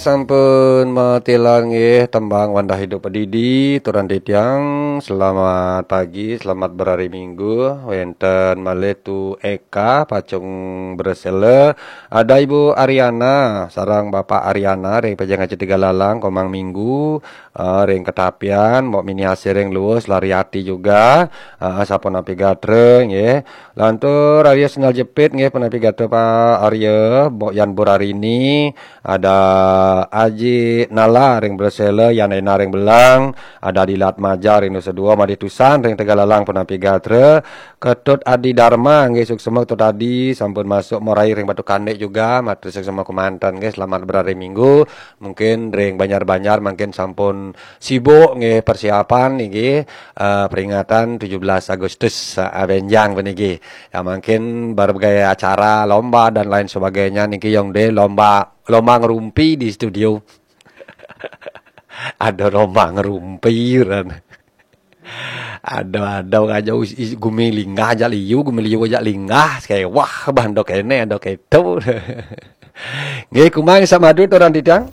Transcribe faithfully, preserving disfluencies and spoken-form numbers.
Sampun matilar nggih tembang Wandah Hidup Padidi, turan titiang. Selamat pagi, selamat berhari Minggu. Wenten malih Tu Eka, Pacung Bersela. Ada Ibu Ariana, sareng Bapak Ariana, ring Pejeng Aji Tiga Lalang, Komang Minggu, eh, ring Ketapian, Mbok Mini Asih ring Luwus, Lariati juga, eh, sapunapi gatra, nggih. Lantur Arya Sendal Jepit, nggih, punapi gatra Pak Arya, Mbok Yan Burarini, ada Aji Nala ring Bersela, Yan Ena ring Belang, ada Dilat Maja ring Nusa Dua, Madih Tusan ring Tegallalang punapi gatra, Ketut Adi Dharma, nggih, suksema Ketut Adi, sampun masuk morai ring Batu Kandik juga, matur suksema kemanten, nggih, selamat berhari Minggu, mungkin ring Banjar-Banjar mungkin sampun sibuk, nggih, persiapan, nggih, eh, peringatan tujuh belas Agustus, eh, benjang puniki. Ya, mungkin berbagai acara, lomba dan lain sebagainya niki yang de lomba, lomba ngerumpi di studio. Ada lomba ngerumpi, ran. Ada, ada aja us-, is-, gumi linggah aja liu, gumi liu aja linggah, kayak wah, bah, ndok kene, ndok keto. Nggih, kumang samadu turan titiang.